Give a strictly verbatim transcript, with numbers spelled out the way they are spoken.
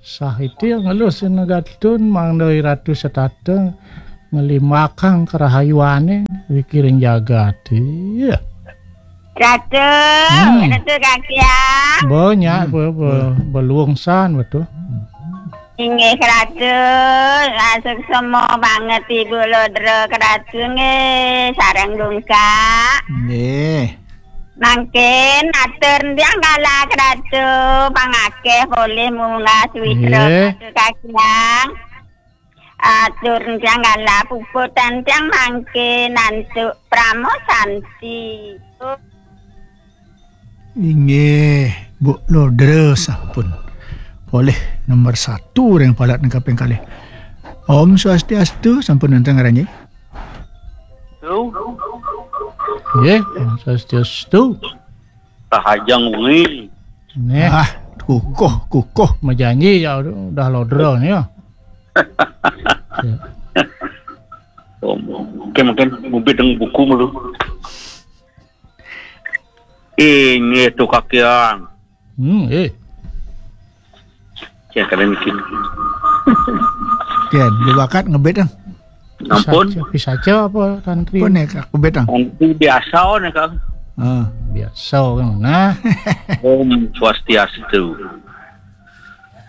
Sah iti ngelus sina Gatun, mangda Ratu setata ngelimbakang karahayuane wikiring jagat. Iya. Ratu, Hmm. Ratu Kakiang. Banyak Hmm. be, be, beluungsan betul. Inggih Ratu, suksma banget Ibu Lodra Ratu nggih, sareng Dungkak. Nggih. Mangkin atur tiang galah Ratu, pangakeh polih munggah suwitra Nggih. Ratu Kakiang. Atur tiang galah puputan tiang mangkin antuk Pramo Santi. Inggih, Bu Lodra sampun polih nomor satu ring palat kaping kalih. Om Swastiastu, sampun wenten ngaranjing? Tu. Nggih, Om Swastiastu. Rahajeng wengi. Neh. Ah, kukuh, kukuh. Majanji ya udah Lodra nih ya. Ya. Oh, mungkin, mungkin ngubit dengan buku malu. Inggih Tu Kakiang. Hmm, eh. Ya, kalian bikin. Ken, di bakat ngebit, ah. Ampun. Pisaca, pisaca apa, Tantri? Apa nih, Kak, ngebit, ah? Tantri biasa, oh, nih, Kak. Ah. Biasa, kan, nah. Om Swastiastu.